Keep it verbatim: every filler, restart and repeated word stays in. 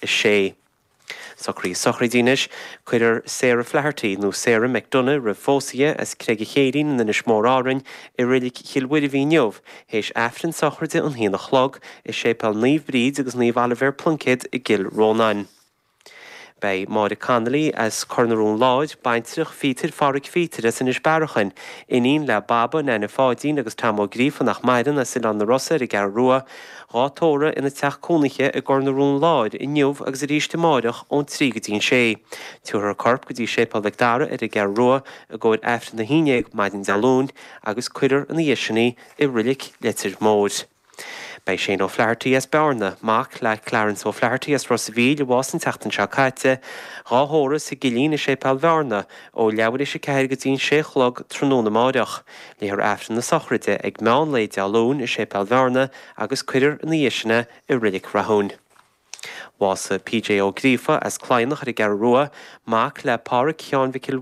a sé. Socruithe sochraide anois, cuirfear Sarah Flaherty nó Sarah McDonough roimh phósadh as Creag an Chéirín in Inis Mór Árainn i Reilig Chill Mhuirbhigh inniu, théis Aifreann sochraide an haon a chlog i Séipéal Naomh Bríd agus Naomh Oilibhéar Pluincéad i gCill Rónáin. Beidh Máire Connolly as Cor na Rón Láir, baintreach Phíotair Phádraig Phíotair as Inis Bearachain, iníon le Baba, Nana Pháidín agus Tom Ó Gríofa nach maireann as Oileán na Rosa ar an gCeathrú Rua, dhá tórramh ina teach cónaithe i gCor na Rón Láir inniu agus arís amáireach ón trí go dtí an sé. Tabharfar a corp go dtí Séipéal Mhic Dara ar an gCeathrú Rua i gcomhair Aifreann a haon déag maidin Dé Luain agus cuirfear ina dhiaidh sin í i Reilig Leitir Móir. Beidh Shane O'Flaherty as Bearna, mac le Clarence O'Flaherty as Ros a' Mhíl a bhásaigh an tseachtain seo caite, dhá thórramh sa gCillín i Séipéal Bhearna ó leathuair théis a ceathair go dtí an sé a chlog tráthnóna amáireach. Léifear Aifreann na sochraide ag meán lae Dé Luain i Séipéal Bhearna agus cuirfear ina dhiaidh sin é i Reilig Rathúin. Bhásaigh P J Ó Gríofa as Cladhnach ar an gCeathrú Rua, mac le Pádraig Sheáin Mhic